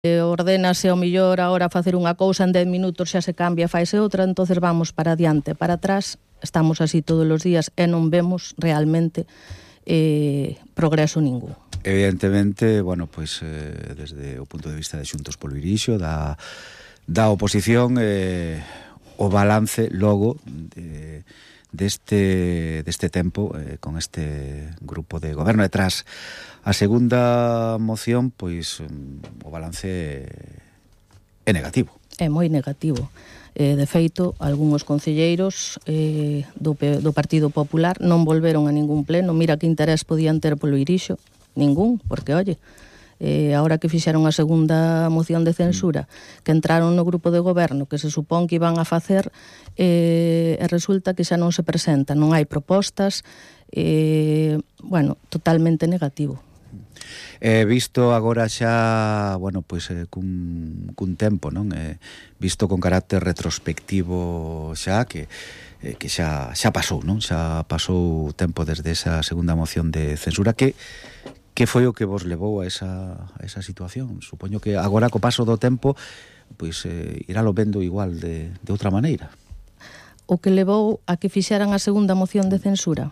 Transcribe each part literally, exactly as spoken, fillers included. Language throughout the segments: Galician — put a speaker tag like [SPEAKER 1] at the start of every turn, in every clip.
[SPEAKER 1] ordénase ao millor agora facer unha cousa, en dez minutos xa se cambia, faise outra, entonces vamos para adiante, para atrás, estamos así todos os días e non vemos realmente eh, progreso ningún.
[SPEAKER 2] Evidentemente, bueno, pois eh, desde o punto de vista de Xuntos polo Irixo, da, da oposición, eh, o balance logo de, deste, deste tempo eh, con este grupo de goberno detrás. A segunda moción, pois, o balance é negativo.
[SPEAKER 1] É moi negativo. Eh, de feito, algúns concelleiros eh, do, do Partido Popular non volveron a ningún pleno. Mira que interés podían ter polo Irixo. Ningún, porque, oye, eh, ahora que fixeron a segunda moción de censura, que entraron no grupo de goberno, que se supón que iban a facer, eh, e resulta que xa non se presenta, non hai propostas, eh, bueno, totalmente negativo.
[SPEAKER 2] Eh, visto agora xa, bueno, pois eh, cun, cun tempo, non? Eh, visto con carácter retrospectivo xa, que eh, que xa xa pasou, non? Xa pasou tempo desde esa segunda moción de censura. Que que foi o que vos levou a esa a esa situación? Supoño que agora co paso do tempo, pois eh, iralo vendo igual de de outra maneira.
[SPEAKER 1] O que levou a que fixeran a segunda moción de censura?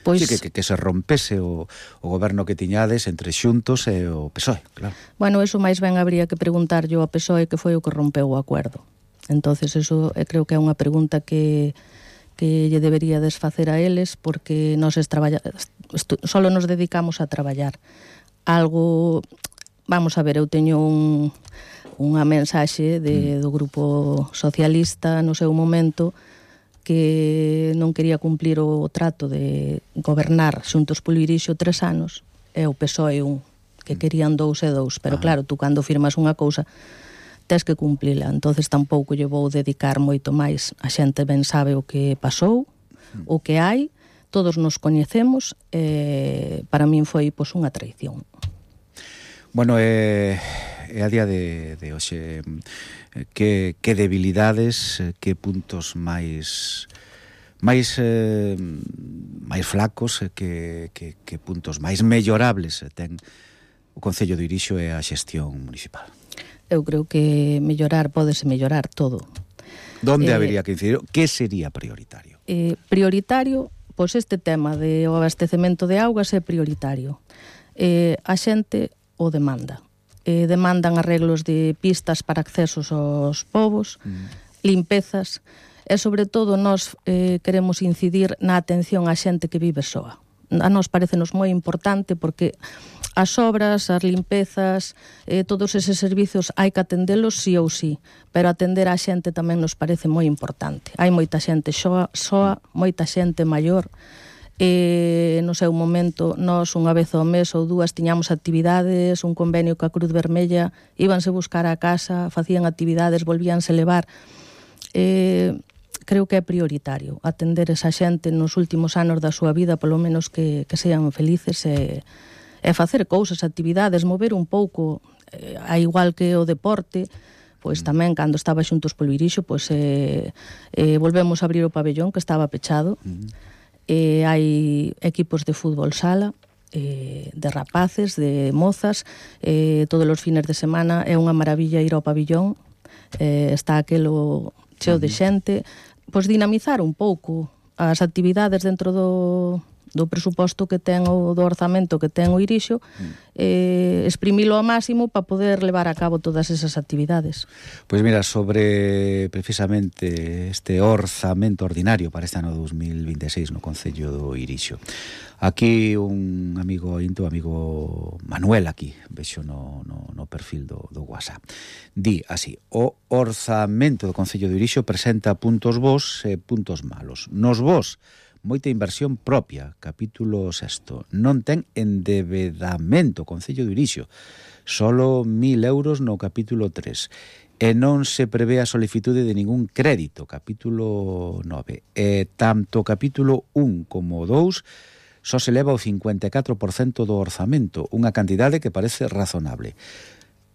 [SPEAKER 2] Pois... Sí, que, que, que se rompese o, o goberno que tiñades entre Xuntos e o P S O E, claro.
[SPEAKER 1] Bueno, eso máis ben habría que preguntar yo ao P S O E que foi o que rompeu o acordo. Entonces, eso eh, creo que é unha pregunta que, que lle debería desfacer a eles, porque nós traballa, solo nos dedicamos a traballar. Algo, vamos a ver, eu teño un, unha mensaxe de, do grupo socialista no seu momento, que non quería cumplir o trato de gobernar Xuntos polo Irixo tres anos, e o P S O E un, que querían dous e dous, pero ah. claro, tú cando firmas unha cousa tes que cumplila, entonces tampouco lle vou dedicar moito máis. A xente ben sabe o que pasou, o que hai, todos nos coñecemos, e para min foi pois unha traición.
[SPEAKER 2] Bueno, é, é a día de, de hoxe... Que, que debilidades, que puntos máis máis eh, máis flacos, que, que, que puntos máis mellorables ten o Concello de Irixo e a xestión municipal?
[SPEAKER 1] Eu creo que mellorar, pódese mellorar todo.
[SPEAKER 2] Donde
[SPEAKER 1] eh,
[SPEAKER 2] habería que incidir? Que sería prioritario?
[SPEAKER 1] Eh, prioritario, pois este tema de o abastecemento de augas é prioritario. Eh, a xente o demanda. Eh, demandan arreglos de pistas para accesos aos povos, mm. limpezas, e sobre todo nós eh, queremos incidir na atención á xente que vive soa. A nós parecenos moi importante porque as obras, as limpezas, eh, todos eses servizos hai que atendelos sí ou sí, pero atender á xente tamén nos parece moi importante. Hai moita xente soa, soa moita xente maior. E no seu momento nós unha vez ao mes ou dúas tiñamos actividades, un convenio ca Cruz Vermella, íbanse buscar a casa, facían actividades, volvíanse levar. Eh, creo que é prioritario atender esa xente nos últimos anos da súa vida, polo menos que, que sean felices, e, e facer cousas, actividades, mover un pouco, eh, a igual que o deporte. Pois tamén, cando estaba Xuntos polo Irixo, pois eh, eh, volvemos a abrir o pabellón que estaba pechado. Mm. Eh, hai equipos de fútbol sala, eh, de rapaces, de mozas, eh, todos os fines de semana é unha maravilla ir ao pabillón, eh, está aquelo cheo de xente, pois dinamizar un pouco as actividades dentro do, do presuposto que ten o do orzamento que ten o Irixo, eh, exprimilo ao máximo para poder levar a cabo todas esas actividades.
[SPEAKER 2] Pois mira, sobre precisamente este orzamento ordinario para este ano dos mil vinte e seis no Concello do Irixo, aquí un amigo into, amigo Manuel, aquí vexo no, no, no perfil do, do WhatsApp, di así: o orzamento do Concello do Irixo presenta puntos bons e puntos malos. Nos bons, moita inversión propia, capítulo sexto. Non ten endebedamento, Concello do Irixo. Solo mil euros no capítulo tres. E non se prevé a solicitude de ningún crédito, capítulo nove. E tanto capítulo un como dous só se leva o cincuenta e catro por cento do orzamento, unha cantidade que parece razonable.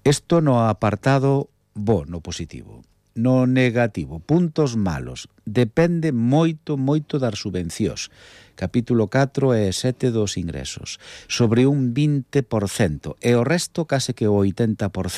[SPEAKER 2] Isto no apartado bo, no positivo. No negativo, puntos malos. Depende moito, moito das subvencións. Capítulo catro e sete dos ingresos. Sobre un vinte por cento. E o resto, case que o oitenta por cento,